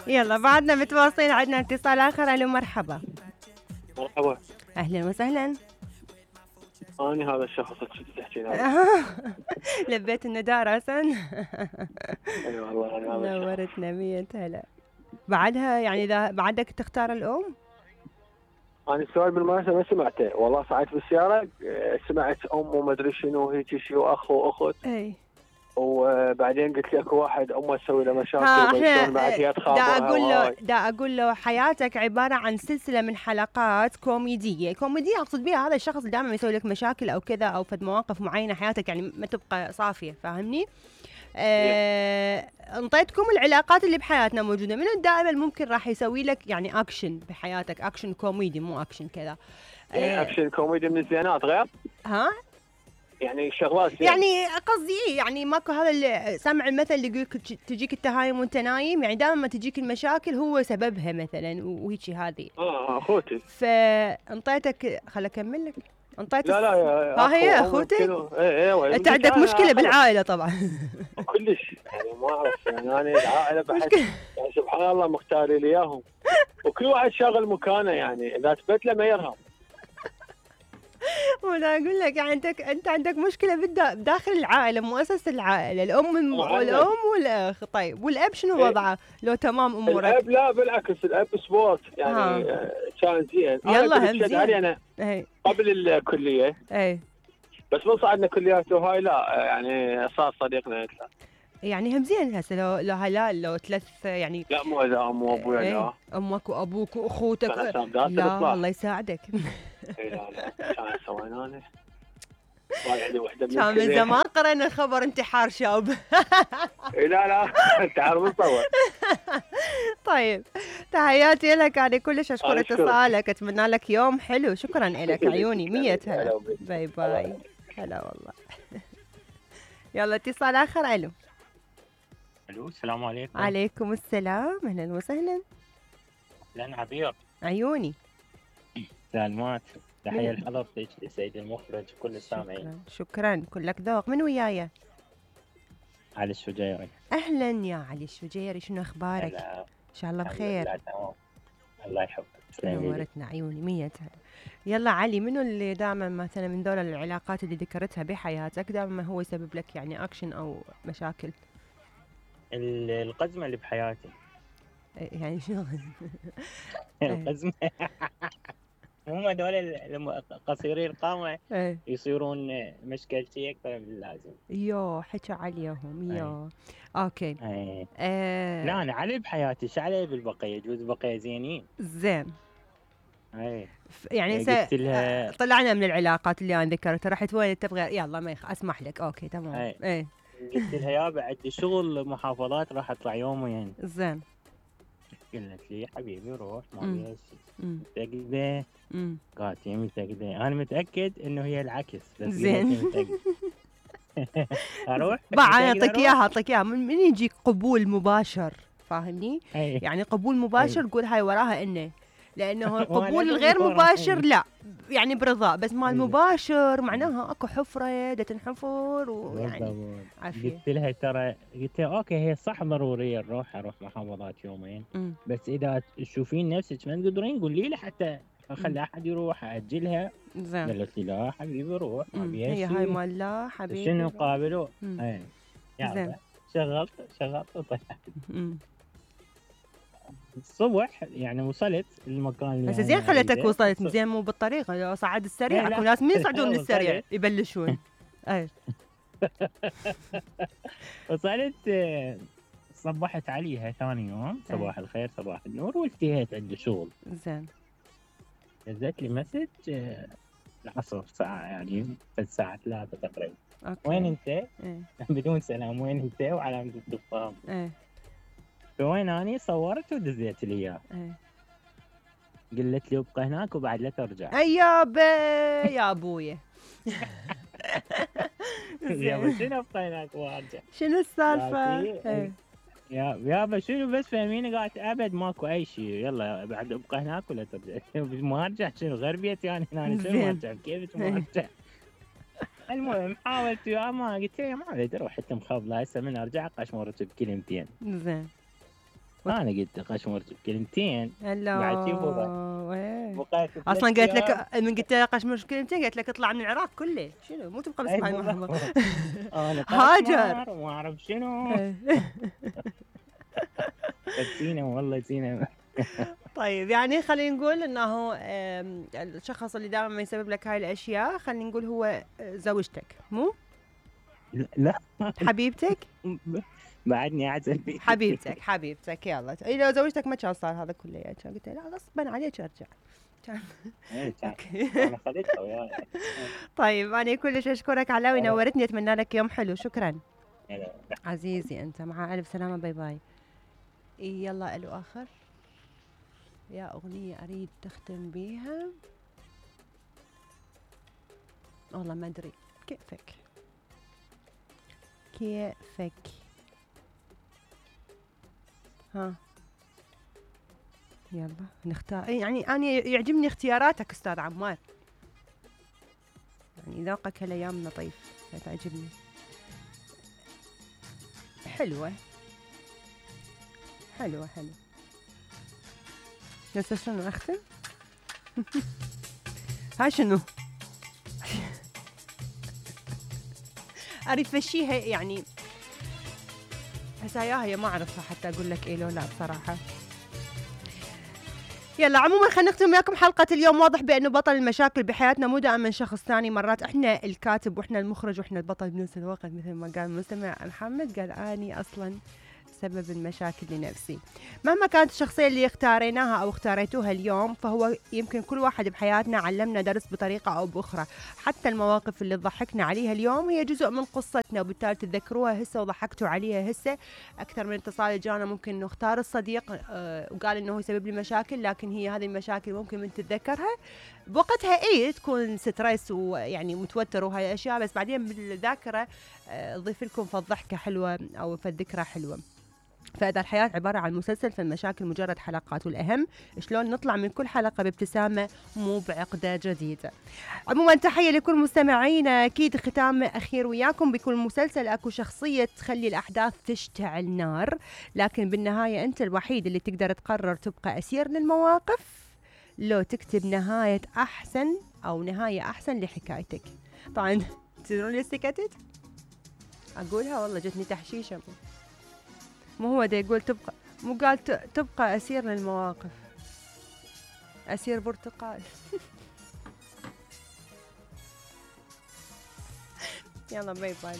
يلا بعدنا متواصلين، عندنا اتصال آخر. ألو مرحبا. مرحبا. أهلا وسهلا. أنا هذا الشخص اللي تحكي له. لبيت النداء راسا. اي والله انا هذا الشخص. نورتنا 100 هلا. بعدها يعني إذا بعدك تختار الأم؟ أنا السؤال بالمناسبة ما سمعته، والله صعدت بالسيارة سمعت أم وما أدري شنو هيك شيء وأخ وأخت. أي. وبعدين قلت لك واحد أمه تسوي له مشاكل. احنا بعد هي دا تخابرها. أقول له حياتك عبارة عن سلسلة من حلقات كوميدية. أقصد بيها هذا الشخص دائما يسوي لك مشاكل أو كذا أو فد مواقف معينة، حياتك يعني ما تبقى صافية، فاهمني؟ انطيتكم العلاقات اللي بحياتنا موجودة، من دائما ممكن راح يسوي لك يعني أكشن بحياتك، أكشن كوميدي مو أكشن كذا. أكشن كوميدي من الزينات غير؟ ها؟ يعني شغلات يعني قصدي يعني ماكو هذا اللي سمع المثل اللي يقولك تجيك التهايم وانت نايم، يعني دائما ما تجيك المشاكل هو سببها مثلا وهيك هذه. اخوتي. فانطيتك خل اكمل لك. انطيت لا ها هي اخوتي. انت عندك مشكله بالعائله طبعا. كلش يعني ما اعرف يعني انا العائله بحس يعني سبحان الله مختاري لي اياهم، وكل واحد شاغل مكانه، يعني اذا ثبت له ما يرهم. وانا اقول لك يعني انت عندك مشكله بداخل العائله، مؤسسه العائله، الام والاخ. طيب والاب شنو وضعه؟ لو تمام امورك؟ الاب لا بالعكس، الاب سبورت يعني كان زين. يلا هم زين. انا قبل الكليه بس من صعدنا كليات وهاي لا يعني صار صديقنا اكثر. يعني هم زين هسه لو هلال لو ثلاث يعني. لا مو اذا ام وابويا لا. امك وابوك واخوتك لا الله يساعدك. لا كان سوينا انا عندي وحده كان من زمان قرأنا خبر انتحار شاب. لا انتحار مصور. طيب تحياتي لك، انا كلش اشكر اتصالك، اتمنى لك يوم حلو. شكرا لك عيوني 100 هلا. باي باي. هلا والله. يلا اتصال اخر. الو السلام عليكم. عليكم السلام، اهلا وسهلا. اهلا عبير. عيوني. سلامات. تحية لحضرتك سيد المخرج وكل السامعين. شكرا كلك ذوق. من وياي؟ علي الشجيري. اهلا يا علي الشجيري، شنو اخبارك؟ ان شاء الله بخير. الله يحفظك. نورتنا عيوني 100 هلا. يلا علي، منو اللي دائما مثلا من دول العلاقات اللي ذكرتها بحياتك دائما هو يسبب لك يعني اكشن او مشاكل؟ القزمة اللي بحياتي. يعني شنو القزمة؟ هم هذول قصيري القامة يصيرون مشكلتي أكثر من اللازم. يو حكى عليهم يو. أوكي. لا أنا علي بحياتي، شو علي بالبقية؟ يجوز بقية زينين. زين. يعني لها... طلعنا من العلاقات اللي أنا ذكرتها، رحت وين تبغى؟ يلا ما أسمح لك. أوكي تمام. قلت لها يابا عندي شغل محافظات راح أطلع يومين. زين. قلت لي حبيبي روح ما فيها شيء. متأكدة؟ قالت لي متأكدة. أنا متأكد إنه هي العكس بس. زين. أروح؟ أعطيك إياها من يجيك قبول مباشر، فاهمني؟ يعني قبول مباشر قول هاي وراها إنه، لأنه القبول الغير مباشر لا يعني برضا، بس مال مباشر معناها اكو حفرة دا تنحفر ويعني عافية. قلت لها ترى قلت لها اوكي هي صح ضرورية اروح محافظات يومين بس اذا تشوفين نفسك ما تقدرين قولي لي حتى اخلي احد يروح اجلها. قالت لي لا حبيبي روح ما بيها هي هاي مال لا حبيبي شنو قابلوا. زين شغلت وطلعت. الصبح يعني وصلت المكان اللي بس زين خلتك وصلت زين، مو بالطريقه صعد السريع. اكو ناس من يصعدون للسريع يبلشون. وصلت صبحت عليها ثاني يوم صباح الخير صباح النور وانتهيت عندي شغل. زين نزلت لي مسج العصر ساعه يعني الساعه 3 تقريبا. وين انت؟ بدون سلام وين انت وعلامه استفهام. فوين اني صورت ودزيت لي اياه. قلت لي ابقى هناك وبعد لا ترجع. يا ابويا. شنو ابقى هناك وارجع؟ شنو السالفه؟ يابا شنو بس فهميني. قالت ابد ماكو اي شيء يلا بعد ابقى هناك ولا ترجع. ما ارجع شنو غير بيتي يعني هنا شنو ما ارجع كيفك ما ارجع. المهم حاولت يا ما قلت له ما ادري اروح حتى مخبله هسه من ارجع قشمرت بكلمتين. زين انا قلت قشمرت بكلمتين بعد شوفوا اصلا قالت لك من قلت لها قشمرت بكلمتين قالت لك اطلع من العراق كله شنو مو تبقى بس معي محمد هاجر وما اعرف شنو زينه والله زينه. طيب يعني خلينا نقول انه الشخص اللي دائما يسبب لك هاي الاشياء خلينا نقول هو زوجتك مو؟ لا حبيبتك؟ بعدني اعزل بيتك. حبيبتك يلا اذا زوجتك ما كان صار هذا كله يعني كان قلت لا غصبا عليك ارجع انا خليتها وياي. طيب انا كلش اشكرك علاوي نورتني اتمنى لك يوم حلو شكرا عزيزي انت مع الف سلامه باي باي. يلا الو اخر يا اغنيه اريد تختم بيها والله ما ادري كيفك ها يلا نختار يعني انا يعجبني اختياراتك استاذ عمار يعني ذوقك هالايام لطيف تعجبني حلوه نسى شنو اختم هاي شنو اريد فشيها يعني هسه هي ما اعرفها حتى اقول لك ايه لو لا بصراحه. يلا عموما خلينا نختم وياكم حلقه اليوم. واضح بانه بطل المشاكل بحياتنا مو دائما شخص ثاني، مرات احنا الكاتب واحنا المخرج واحنا البطل بنفس الوقت، مثل ما قال المستمع محمد قال اني اصلا سبب المشاكل لنفسي. مهما كانت الشخصية اللي اختاريناها أو اختاريتوها اليوم فهو يمكن كل واحد بحياتنا علمنا درس بطريقة أو بأخرى. حتى المواقف اللي ضحكنا عليها اليوم هي جزء من قصتنا وبالتالي تتذكروها هسه وضحكتوا عليها هسه. أكثر من اتصال جانا ممكن إنه اختار الصديق وقال إنه هو يسبب لي مشاكل، لكن هي هذه المشاكل ممكن من تتذكرها بوقتها تكون ستريس ويعني متوتر وهاي الأشياء، بس بعدين بالذاكرة تضيف لكم فالضحكة حلوة أو فالذكرى حلوة. فإذا الحياة عبارة عن مسلسل فالمشاكل مجرد حلقات، والأهم شلون نطلع من كل حلقة بابتسامة مو بعقدة جديدة. عموما تحية لكل مستمعينا. أكيد ختام أخير وياكم، بكل مسلسل أكو شخصية تخلي الأحداث تشتعل نار، لكن بالنهاية أنت الوحيد اللي تقدر تقرر تبقى أسير للمواقف لو تكتب نهاية أحسن أو نهاية أحسن لحكايتك. طبعا تدرون ليش سكتت؟ أقولها والله جتني تحشيشة. مو هو دا يقول تبقى، مو قال تبقى أسير للمواقف، أسير برتقال. يلا باي باي.